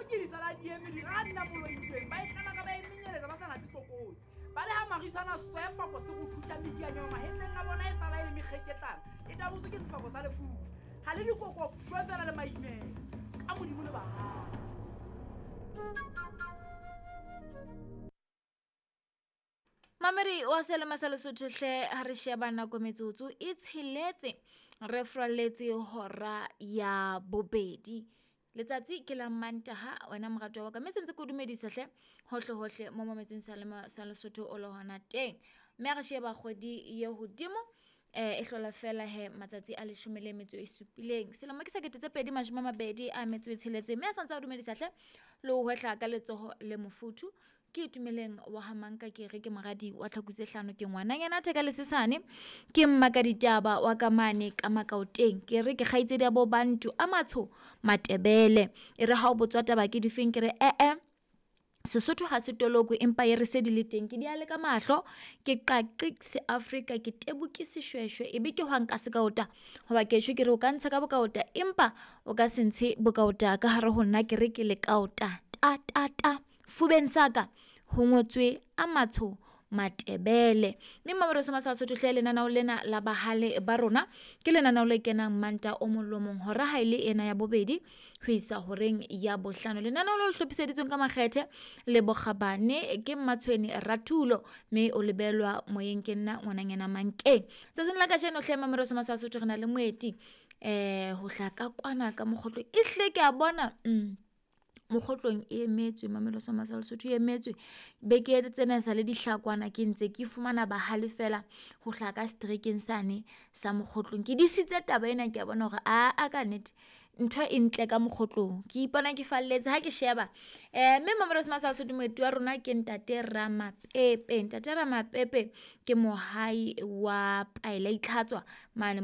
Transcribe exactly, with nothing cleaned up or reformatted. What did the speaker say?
ke di sala di eme di ga nna moloileng ba e tlala ka ba e menyeletsa ba sa natse tlokotsi ba le ha maritshwana sefako se go thuta medianyo mahetleng a bona e sala e le mekgeketlana e tabotswe ke sefako sa lefufa ga le dikoko shwe fela le maimela ka modimo le bahae. Mamedi wa selema sa Lesotho hle ha re sheba nako metsotso e tsheletse re fraletse hora ya bobedi. Letsatsi ke la Mantaha wena morato wa ka mme sentse ke o dumedisa hle hohle hohle mo mametseng selema sa Lesotho o le hona teng. Mme ha re sheba kgwedi ye hodimo eh e hlola fela he matsatsi a leshome le metso e supileng selemo ke sekete tse pedi mashome a mabedi a metso e tsheletseng mme a santse a dumedisa hle le ho hwehla ka letsoho le mofuthu. Ke Itumeleng wa ha Manka ke re ke moradi wa tlhaku tse hlano ke ngwananyana theka le sesane ke mmaka ditaba wa ka mane ka Makaoteng ke re ke kgaitsedi ya bo Bantu a matsho Matebele e re ha o botswa taba ke difeng ke re eh eh Sesotho ha se toloko empa e re se di le teng ke di ale ka mahlo ke qaqi se Afrika ke tebuke seshweshwe ebe ke hwang ka sekaota hoba kesho ke re o ka ntsha ka bokaota empa o ka se ntshe bokaota ka hare ho nna ke re ke lekaota ta ta ta fubeng saka ho ngotswe a matsho Matebele. Mme Mamedi wa Sesotho hle lenaneo lena la bahale ba rona ke lenaneo le kenang Manta o mong le o mong hora ha e le ena ya bobedi ho isa horeng ya bohlano. Lenaneo le le hlophiseditsweng ka makgethe le bokgabane ke Mmatshweni Ratulo mme o lebelwa moyeng ke nna ngwananyana Mankeng. Tsatsing la kajeno hle Mamedi wa Sesotho re na le moeti eh ho hla ka kwana ka mokgotlong ehle ke a bona mm mokgotlong e emetswe Mamedi wa Sesotho e emetswe beke tsena sa le dihlakwana ke ntse ke fumana bahale fela ho hla ka streakeng sane sa mokgotlong ke disitse taba ena ke a bona hore a a ka nnete ntho e ntle ka mokgotlong ke ipona ke falletse ha ke sheba eh mme Mamedi wa Sesotho moeti wa rona ke ntate Ramapepe. Ntate Ramapepe ke mohai wa paela itlhatswa mane